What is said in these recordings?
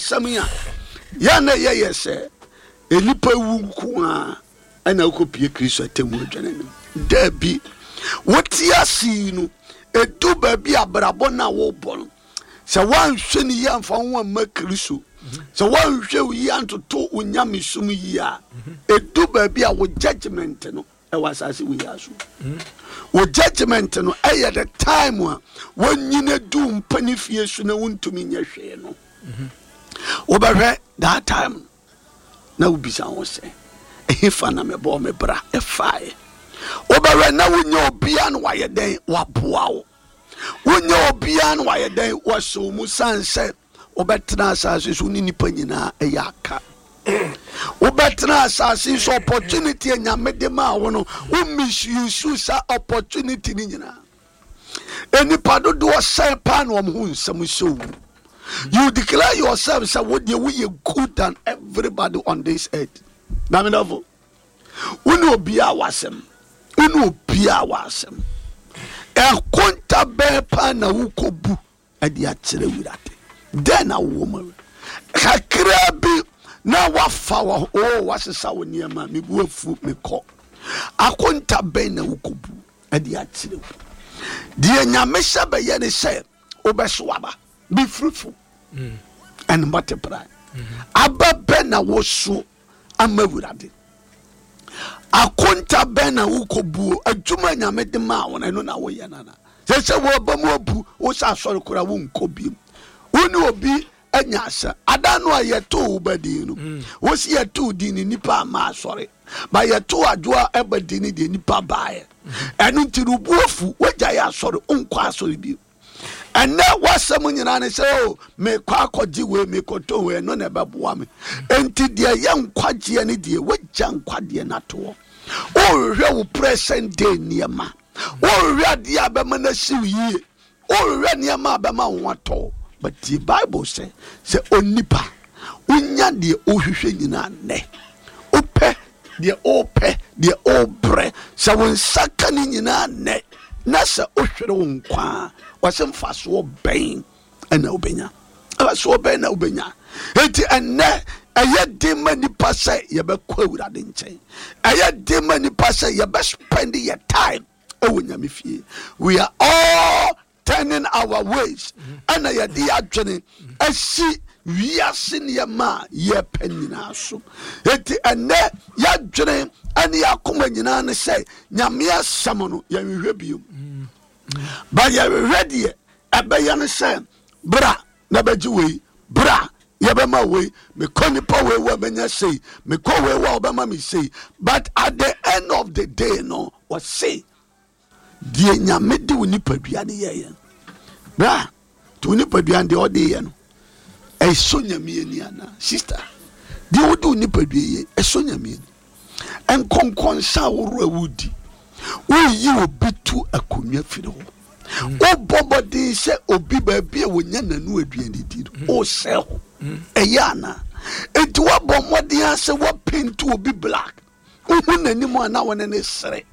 asɛm yi a, yɛn na ɛyɛ yɛ sɛ nnipa wu nko ara ɛna wokɔpie Kristo atemmu adwa no anim. Daabi, wote ase yi no, ɛdu baabi abrabɔ no a wobɔ no, sɛ woanhwɛ no yie amfa wo ho amma Kristo, sɛ woanhwɛ wo yie antoto wo nyamesom yie a, ɛdu baabi a wo judgment no ɛwɔ asase wei ara so. Wo judgment no ɛyɛ the time a wanyina du mpani fie so na wontumi nyɛ hwee no. Wobɛhwɛ that time no na wobisa ho sɛ, ɛhefa na mebɔɔ me bra ɛfaeɛ? Wobɛhwɛ na wonyɛ obiara na wayɛ dɛn waboa wo. Wonyɛ obiara na wayɛ dɛn wasɔ wo mu sane sɛ wobɛtena asase so ne nnipa nyinaa ɛyɛ aka. Wobɛtena asase so opportunity a Nyame de maa wo no, wo misuse saa opportunity no nyinaa. Nnipa dodoɔ sɛn paa na wɔn ho nsɛm sɛ owu. You declare yourself sɛ wo deɛ woyɛ good than everybody on this earth. Na me dɔfo, wo ne obiara wɔ asɛm. Wo ne obiara wɔ asɛm. Ɛkonta bɛn paa na wokɔbu de akyerɛ Awurade? Dɛn na wowɔ mu? Kakraa bi na wafa wɔ o oh, wasesa wo nneɛma, mebu afu mekɔ. Akonta bɛn na wokɔbu de akyerɛ wo? Deɛ Nyame hyɛ bɛyɛ ne sɛ wobɛso aba, be fruitful and multiply. Mm-hmm. Aba bɛn na woso ama Awurade? Akonta bɛn na wokɔbuo? Adwuma Nyame de maa wo no, ɛno na woyɛ no ana? Sɛ sɛ wɔba mu abu wo sɛ asɔre koraa wonkɔ biom. Wo ne obi anya asɛm. Ada no a yɛtoo wo ba din no, mm. wo si yɛtoo din no nipa ama asɔre. Ba yɛtoo adwoa ɛba din no deɛ nipa baeɛ. Ɛno nti no bu afu, wagyae asɔre, wonkɔ asɔre bio. Ɛnɛ w'asɛm nyinaa ne sɛ o oh, mekɔ akɔgye wei mekɔtɔ wei ɛno na ɛbɛboa me. Enti deɛ ɛyɛ nkwagyeɛ ne deɛ wagya nkwagyeɛ no atoɔ. Wohwehwɛ wo present day nneɛma. Wohwehwɛ adeɛ a bɛma no asiw yie. Wohwehwɛ nneɛma a bɛma wo ho atɔ wo. But tie Bible sɛ, sɛ onipa wonya deɛ wohwehwɛ nyinaa nnɛ, wopɛ deɛ wopɛ, deɛ wobrɛ, sɛ wo nsa ka ne nyinaa nnɛ, na sɛ wohwere wo nkwa a, wɔsɛ mfasoɔ bɛn ɛna wobɛnya? Mfasoɔ bɛn na wobɛnya? Enti ɛnnɛ ɛyɛ den ma nipa sɛ yɛbɛkɔ Awurade nkyɛn. Ɛyɛ den ma nipa sɛ yɛbɛspend yɛ time ɛwɔ Nyame fie. We are all turning our ways ɛna yɛde adwene asi wiase nneɛma a yɛpɛ nyinaa so. Enti ɛnɛ yɛadwene ɛne yɛakoma nyinaa ne sɛ Nyame asɛm no yɛnhwehwɛ biom. Ba yɛhwehwɛ deɛ ɛbɛyɛ no sɛ bra na bɛgye wei, bra yɛbɛma wei, mekɔ nipa wei wɔ mɛnya sei, mekɔ wei wɔ ɔbɛma me sei. But at the end of the day no, wɔse deɛ Nyame de wo nipadua no yɛyɛ bra nti wo nipadua no deɛ ɔde yɛ no ɛsɔ Nyame ani anaa? Sister, deɛ wode wo nipadua yɛ ɛsɔ Nyame ani? Nkɔnkɔnsa ahorow a wodi, woyi obi to akonnwa firi hɔ, wobɔ mmɔden sɛ obi baabi a wɔnya n'ano aduane di no wosɛe hɔ, ɛyɛ anaa? Enti woabɔ mmɔden a sɛ woapenti obi black, wohu n'anim a na wɔne ne sere,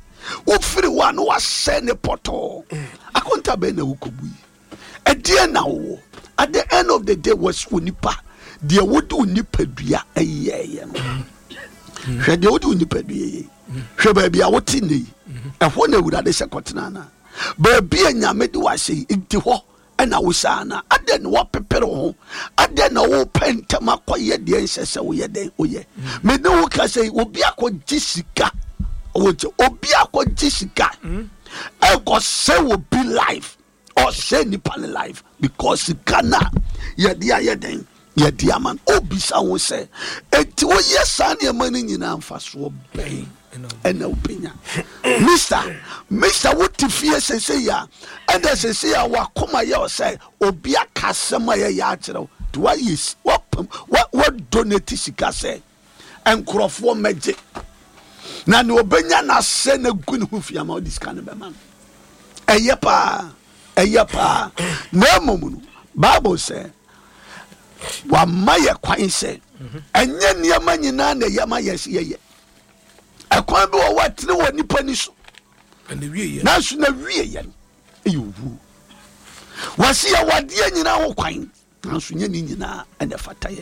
wofiri hɔ a na wasɛe ne pɔtɔɔ. Akonta bɛn na wokɔbu yi? Ɛdeɛn na wowɔ? At the end of the day, wɔsi onipa deɛ wode wo nipadua yɛɛyɛ no. Hwɛ deɛ wode wo nipadua yɛ. Hwɛ baabi a wote nnɛ yi. Ɛhɔ na Awurade sɛ kɔtena anaa? Baabi a Nyame de wahyɛ yi, nti hɔ ɛna wohyɛ anaa? Adɛn na woapepere wo ho? Adɛn na wopɛ ntɛm akɔyɛ deɛ nhyɛ sɛ woyɛ dɛn woyɛ? Me ne wo ka sɛ obi akɔgye sika, obi akɔgye sika ɛkɔsɛ obi life. Ɔsɛe nipa ne life because sika no a yɛde ayɛ dɛn yɛde ama no. Obisa ho sɛ enti woyɛ saa nneɛma no nyinaa mfasoɔ bɛn ɛna wobɛnya? Mister, mister wote fie sese a ɛna sese a wakoma yɛ sɛ obi aka asɛm a yɛyɛ akyerɛ wo nti wayɛ wapam wadonate sika sɛ nkurɔfoɔ mmɛgye na nea ɔbɛnya n'asɛ na gu ne ho fi ama ɔde sika no bɛma no. Ɛyɛ paa, ɛyɛ paa. Na mmom no, Bible sɛ wama yɛ kwan sɛ ɛnyɛ nneɛma nyinaa na ɛyɛ ma yɛ sɛ yɛyɛ. Ɛkwan bi wɔ hɔ a ɛtene wɔ nipa ni so, nanso na wie yɛ no ɛyɛ owuo. Wɔsi yɛ wadeɛ nyinaa ho kwan, nanso nyɛ ne nyinaa ɛna ɛfata yɛ.